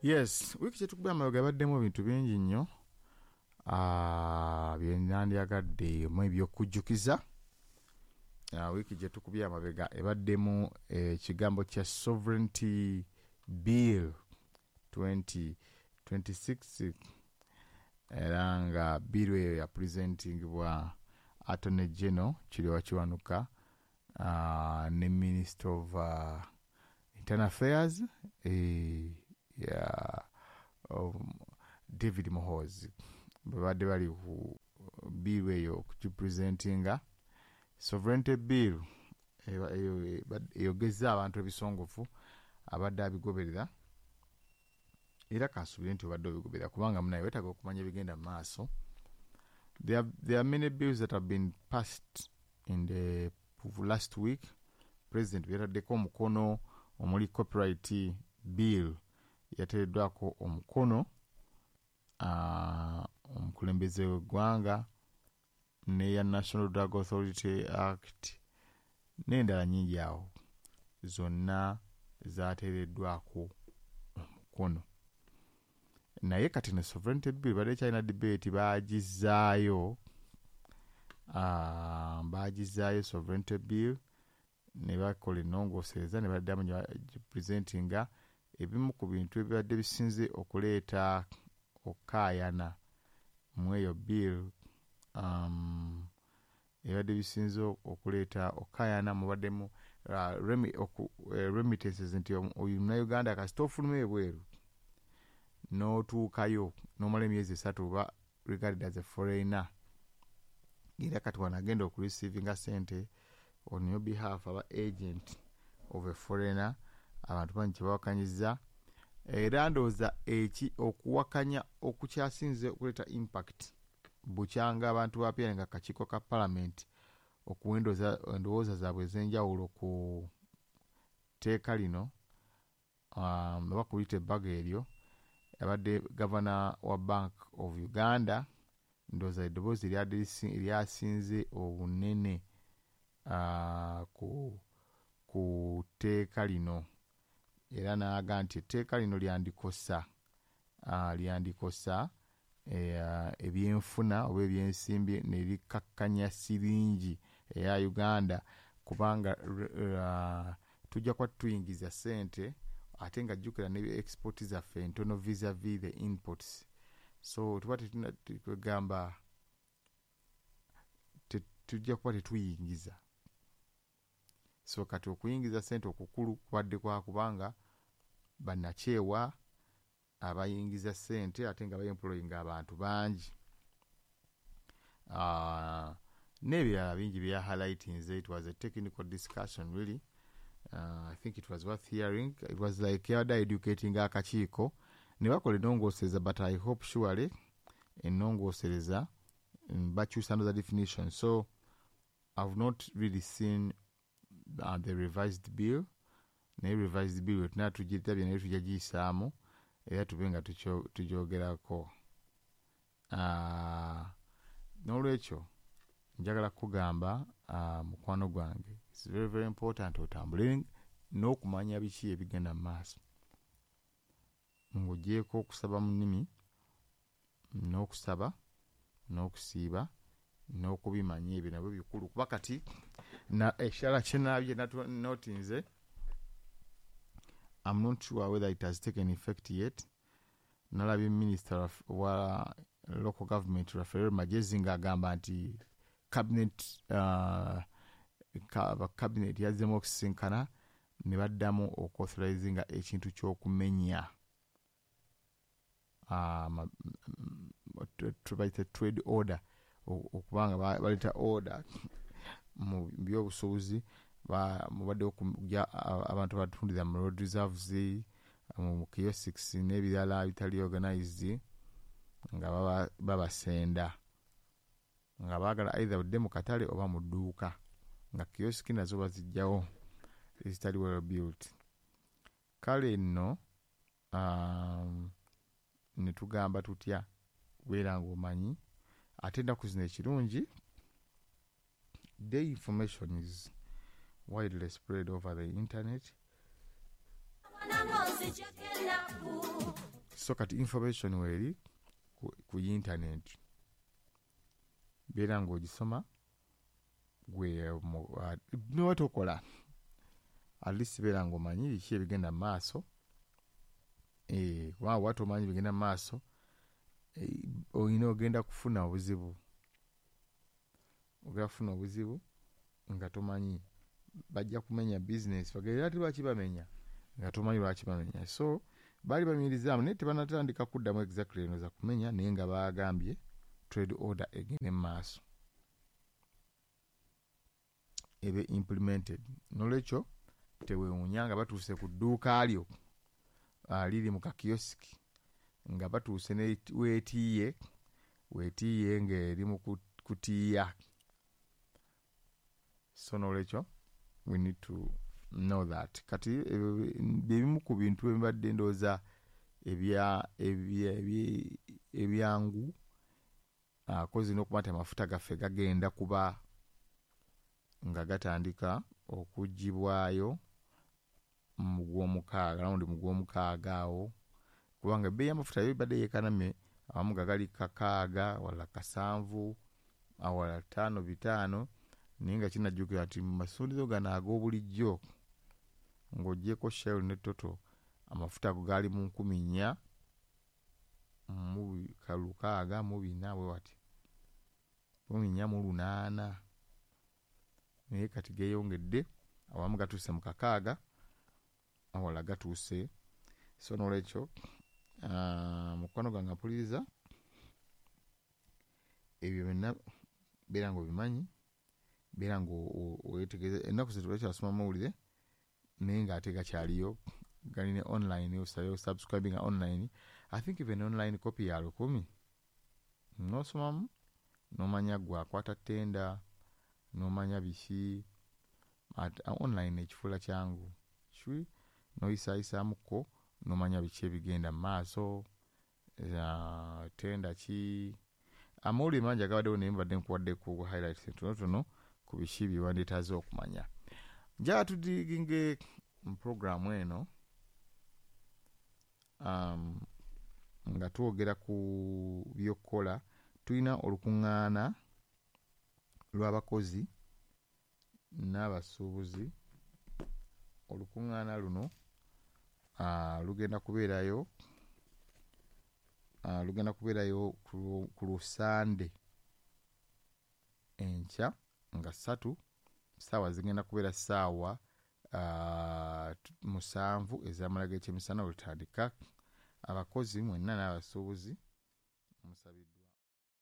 Yes, wiiki kyetukubye amabega ebaddemu ebintu bingi nnyo bye nandyagadde mu ebyokujjukiza. Wiiki gye tukubye amabega ebaddemu ekigambo kya Sovereignty Bill 2026, era nga bill eyo ya presentingibwa Attorney General Kiryowa Kiwanuka ne Minister of Internal Affairs ya David Muhoozi. Babadde bali ku bill eyo okugipresentinga. Sovereignty Bill eyogezza abantu ebisongovu abadde abigoberera, era kansuubire nti obadde obigoberera kubanga munaye weetaaga okumanya ebigenda mu maaso. There are many bills that have been passed in the last week. President byataddeko omukono omuli Copyright Bill yateereddwako omukono omukulembeze w'eggwanga, n'eya National Drug Authority Act n'endala nnyingi awo zonna zateereddwako omukono. Naye kati ne Sovereignty Bill badde ekyalina debate, baagizaayo Sovereignty Bill ne bakola ennongoosereza ne baddamu ne bagipresentinga. Ebimu ku bintu ebibadde bisinze okuleeta okukaayana mu eyo bill, ebibadde bisinze okuleeta okukaayana mubaddemu remittances, nti oyo Munnayuganda kasita ofuluma ebweru n'otuukayo n'omala emyezi 3 oba regarded as a foreigner, era kati wano agenda okureceivinga ssente on your behalf aba agent of a foreigner. Abantu bangi kyebawakanyizza, era ndowooza eki okuwakanya okukyasinze okuleeta impact bukyanga abantu bapyane nga akakiiko ka parliament okuwa endowooza zaabwe ez'enjawulo ku tteeka lino, oba kuliyita ebbago eryo. Abadde gavana wa Bank of Uganda, ndowooza eddoboozi eryasinze obunene ku tteeka lino, era n'aga nti etteeka lino lyandikosa ebyenfuna oba ebyensimbi ne likakkanya siringi eya Uganda, kubanga tujja kuba tuyingiza ssente ate nga jjukira ne export zaffe ntono vis-a-vis the imports, so tuba tetuna kwegamba tujja kuba tetuyingiza. So kati okuyingiza ssente okukulu kubadde kwa kubanga bannakyewa abayingiza ssente ate nga baemployinga abantu bangi, n'ebirala bingi bya highlightinze. It was a technical discussion really. I think it was worth hearing. It was like yabadde educating akakiiko ne bakola ennongoosereza, but I hope surely ennongoosereza bakyusa another definition. So I've not really seen the revised bill, naye revised bill wetunaa tugirabye naye tujja giyisaamu era tube nga tugyogerako. N'olwekyo njagala kugamba, mukwano gwange, it's very very important otambule n'okumanya biki ebigenda mu maaso, ng'ogyeko okusaba mu nnimi n'okusaba n'okusiiba n'okubimanya, ebyo nabyo bikulu. Kuba kati ekirala kyenabye notinze, I'm not sure whether it has taken effect yet, nalabye minister wa local government Raphael Magyezi ng'agamba nti cabinet yazzemu okusisinkana ne baddamu okuauthorizinga ekintu ky'okumenya tubayite trade order, okubanga baleeta order mu byobusuubuzi. Mubadde okujja abantu abatundira mu road reserves, mu kiosks n'ebirala ebitali organized, nga babasenda nga baagala either odde mu katale oba mu dduuka, nga kiosk nazo bazijjawo ezitali well built. Kale nno ne tugamba tutya, beera ng'omanyi. Ate ennaku zino ekirungi, the information is widely spread over the internet. Nango nzijjako ennaku. So kati information weeri ku internet, beera ng'ogisoma gwe noba tokola, at least beera ng'omanyi biki ebigenda mu maaso. Kubanga bw'oba tomanyi bigenda mu maaso, olina ogenda kufuna obuzibu, ogenda kufuna obuzibu nga tomanyi. Bajja kumenya bizinesi, bagenda ati lwaki bamenya nga tomanyi lwaki bamenya. So baali bamirizzaamu naye tebanatandika kuddamu exactly eno za kumenya, naye nga baagambye trade order egende mu maaso ebe implemented. Nolwekyo teweewuunya nga batuuse ku dduuka lyo liri mu kakiyosiki, nga batuuse ne weetiiye weetiiye ng'eri mu kutiiya. So nolwekyo we need to know that. Kati ebyo bye bimu ku bintu ebibadde ndowooza ebyangu kozi n'okuba nti amafuta gaffe gagenda kuba nga gatandika okuggyibwayo mu gw'omukaaga, rawundi mu gw'omukaaga awo, kubanga ebbeeyi y'amafuta yo ebadde yeekanamye, awamu nga gali 6 wala 7 awalala 5 5, naye nga kinajjukira nti mu masundiro gano ag'obulijjo ng'oggyeko Shell ne Total, amafuta ago gaali mu 4664 bwe wati, 4800, naye kati geeyongedde, awamu gatuuse mu 6 awalala gatuuse. So nolwekyo mukwano gwange mpuliriza, ebyo byonna beera ng'obimanyi, beera ng'oweetegereza. Ennaku zino tebakyasoma mawulire naye ng'ate gakyaliyo, gali ne online, osabe osubscribinga online. I think even online copy ya 1000 n'osomamu n'omanya gwe akwata ttenda, n'omanya biki. Online ekifuula kyangu ki, n'oyisaayisaamuko n'omanya biki ebigenda mu maaso, ttenda ki. Amawulire mangi agabaddewo naye mbadde nkuwadde ku highlights entonotono ku biki bye wandyetaaze okumanya. Njagala tudiginge mu puroguraamu eno nga twogera ku by'okukola. Tulina olukuŋŋaana lw'abakozi n'abasuubuzi. Olukuŋŋaana luno lugenda kubeerayo ku Lusande enkya nga 3, ssaawa zigenda kubeera ssaawa 7 ez'amala g'ekyemisana olutandika. Abakozi mwenna n'abasuubuzi musabiddwa.